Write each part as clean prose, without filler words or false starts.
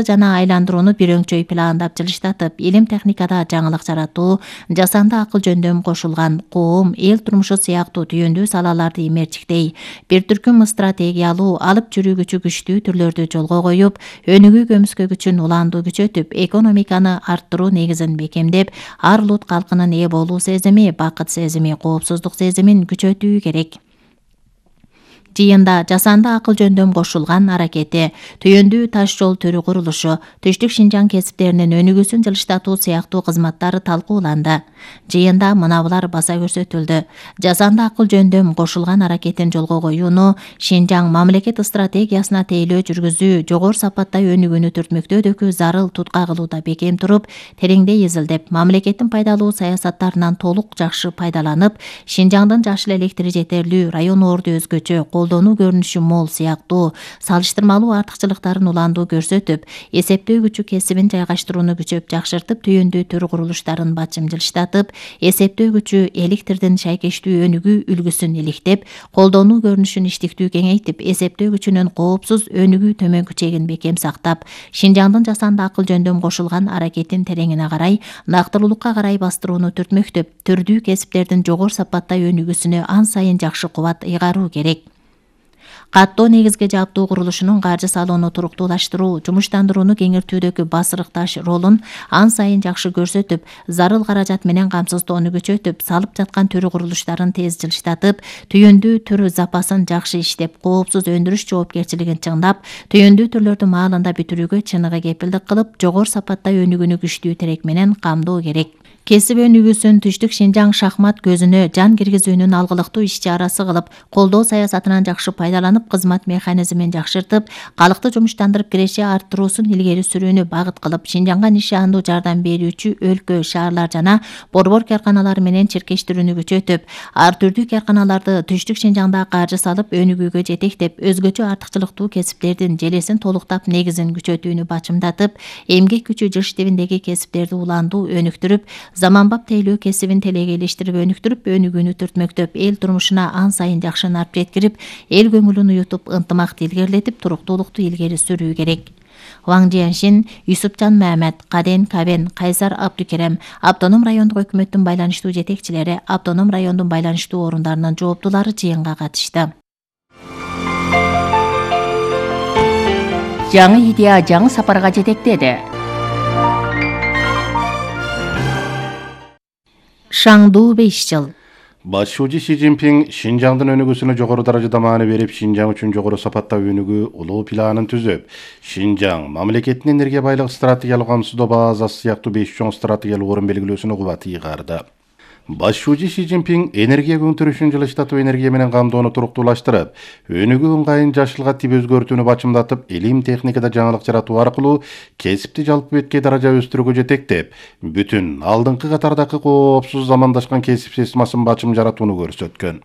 жана айландырууну бирөңчөй пландап жылыштатып, илим техникада жаңылык жаратуу, жасанды акыл жөндөм кошулган, коом, эл турмушу сыяктуу түйүндүү салаларды имерчиктей, бир түркүм стратегиялуу, алып жүрүүгүчү күчтүү түрлөрдү жолго коюп, өнүгүү көмүскөгүчүн уланду күчөтүп, экономиканы арттыруу негизин бекемдеп, ар улут калкынын ээ болуу сезими, бакыт сезими, коопсуздук сезимин күчөтүү керек. Жыйында жасанды акыл жөндөм кошулган аракети, түйүндүү таш жол төрү курулушу, түштүк Шинжаң кесиптеринин өнүгүүсүн жылыштатуу сыяктуу кызматтар талкууланды. Жыйында мынабулар баса көрсөтүлдү. Жасанды акыл жөндөм кошулган аракетин жолго коюуну Шинжаң мамлекет стратегиясына тейлөө жүргүзүү, жогору сапатта өнүгүүнү түртмөктөөдөгү зарыл tutка кылууда бекем туруп, тереңдей изилдеп, мамлекеттин пайдалуу саясаттарынан толук жакшы пайдаланып, Шинжаңдын жашыл электри жетерлүү, район орду өзгөчө, колдонуу көрүнүшү мол сыяктуу салыштырмалуу артыкчылыктарын уландуу көрсөтүп, эсептөө күчү кесибин жайгаштырууну күчөп жакшыртып, түйүндүү төр курулуштарын бачым жылыштатып, эсептөө күчү электрдин шайкештүү өнүгүү үлгүсүн иликтеп, колдонуу көрүнүшүн иштиктүү кеңейтип, эсептөө күчүнүн коопсуз өнүгүү төмөнкү чегин бекем сактап, Шинжаңдын жасанды акыл жөндөм кошулган аракетин тереңине карай, нактылуулукка карай бастырууну түртмөктөп, түрдүү кесиптердин жогору сапатта өнүгүүсүнө ан сайын жакшы кубат ыйгаруу керек. Каттоо негизге жааптуу курулушунун каржы салууну туруктуулаштыруу, жумуштандырууну кеңейтүүдөгү басырыкташ ролун ан сайын жакшы көрсөтүп, зарыл каражат менен камсыздоону күчөтүп, салып жаткан төрү курулуштарын тез жылыштатып, түйүндүү төрү запасын жакшы иштеп, коопсуз өндүрүш жоопкерчилигин чыңдап, түйүндүү түрлөрдү маалында бүтүрүүгө чыныгы кепилдик кылып, жогору сапатта өнүгүүнү күчтүү терек менен камдоо керек. Кесип өнүгүүсүн түштүк Шинжаң шахмат көзүнө жан киргизүүнүн алгылыктуу иш-чарасы кылып, колдоо саясатынан жакшы пайдаланып, кызмат механизмин жакшыртып, калкты жумуштандырып киреше арттыруусун илгери сүрүүнү багыт кылып, Шинжаңга нишандуу жардам берүүчү өлкө, шаарлар жана борбор карканалар менен чиркештирүүнү күчөтүп, ар түрдүү карканаларды түштүк Шинжаңда каржы салып, өнүгүүгө жетектеп, өзгөчө артыкчылыктуу кесиптердин желесин толуктап, негизин күчөтүүнү бачымдатып, эмгек күчү жыш тибиндеги кесиптерди уландуу өнүктүрүп, заманбап тейлөө кесибин телегейлештирип өнүктүрүп, өнүгүүнү түртмөктөп, эл турмушуна ан сайын жакшы нарп жеткирип, эл көңүлүн уютуп, ынтымакты илгерилетип, туруктуулукту илгери сүрүү керек. Ваң Жияншин, Юсупжан Мамед, Каден Кабен, Кайсар Абдукерем, Автоном райондук өкмөттүн байланыштуу жетекчилери, Автоном райондун байланыштуу орундарынын жооптулары жыйынга катышты. Жаңы идея жаңы сапарга жетектеди. Шаңдуу 5 жыл. Башчы Си Цзиньпин Шинжаңдын өнүгүүсүнө жогору даражада маани берип, Шинжаң үчүн жогору сапатта өнүгүү улуу планын түзүп, Шинжаң мамлекеттин энергия байлык стратегиялык камсыздоо базасы сыяктуу 5 чоң стратегиялык орун белгилөөсүнө кубат ыйгарды. Башчы Си Цзиньпин энергия көңтүрүшүн жылыштатып, энергия менен камдоону туруктуулаштырып, өнүгүү ыңгайын жашылга тип өзгөртүүнү бачымдатып, илим техникада жаңылык жаратуу аркылуу кесипти жалпы беткей даража өстүрүүгө жетектеп, бүтүн алдыңкы катардагы коопсуз замандашкан кесип системасын бачым жаратууну көрсөткөн.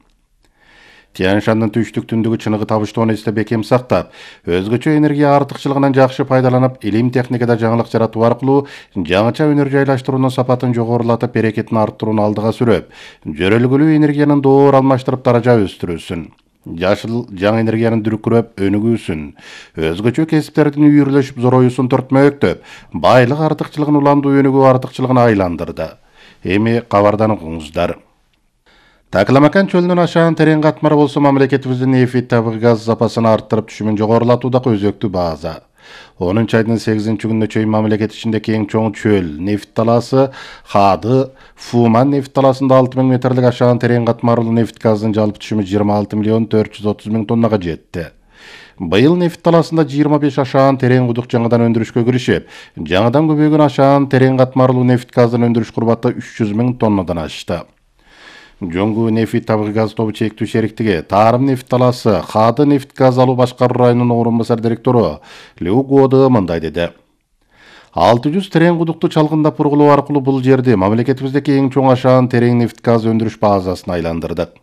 Тянь-Шандын түштүк түндүгү чыныгы табыштоону эсте бекем сактап, өзгөчө энергия артыкчылыгынан жакшы пайдаланып, илим техникада жаңылык жаратуу аркылуу жаңыча өнөр жайлаштыруунун сапатын жогорулатып, берекетин арттырууну алдыга сүрөп, жөрөлгөлүү энергиянын доор алмаштырып даража өстүрүүсүн, жашыл жаңы энергиянын дүркүрөп өнүгүүсүн, өзгөчө кесиптердин үйүрлөшүп зороюусун төртмөктөп, байлык артыкчылыгын уландуу өнүгүү артыкчылыгына айландырды. Эми кабардан окуңуздар. Такламакан чөлүнүн ашаан терең катмары болсо, мамлекетибиздин нефть табыгы газ запасын арттырып, түшүмүн жогорулатуудагы өзөктүү база. 10 айдын 8 күнүнө чейин мамлекет ичиндеги эң чоң чөл нефть талаасы Хады Фуман нефть талаасында 6000 метрлик ашаан терең катмарлуу нефть газдын жалпы түшүмү 26.430.000 тоннага жетти. Быйыл нефть талаасында 25 ашаан терең кудук жаңыдан өндүрүшкө киришип, жаңыдан көбөйгөн ашаан терең катмарлуу нефть газдын өндүрүш курбаты 300.000 тоннадан ашты. Жоңгу нефть табыгы газ тобу чектүү шериктиги Тарым нефть талаасы Хады нефть газ алуу башкаруу районунун орун басар директору Лю Годы мындай деди. 600 терең кудукту чалгындап бургулоо аркылуу бул жерди мамлекетибиздеги эң чоң ашаан терең нефть газ өндүрүш базасына айландырдык.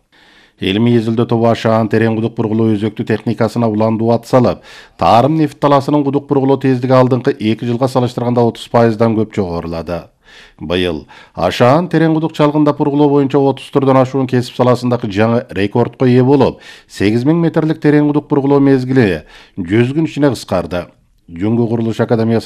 Илимий изилдөө тобу ашаан терең кудук бургулоо өзөктүү техникасына уландуу ат салып, Тарым нефть талаасынын кудук бургулоо тездиги алдыңкы 2 жылга салыштырганда 30%дан көп жогорулады. Быйыл ашаан терең кудук чалгындап бургулоо боюнча 30 түрдөн ашуун кесип саласындагы жаңы рекордко ээ болуп, 8000 метрлик терең кудук бургулоо мезгили 100 күн ичине кыскарды. Жүнгү курулуш академиясынын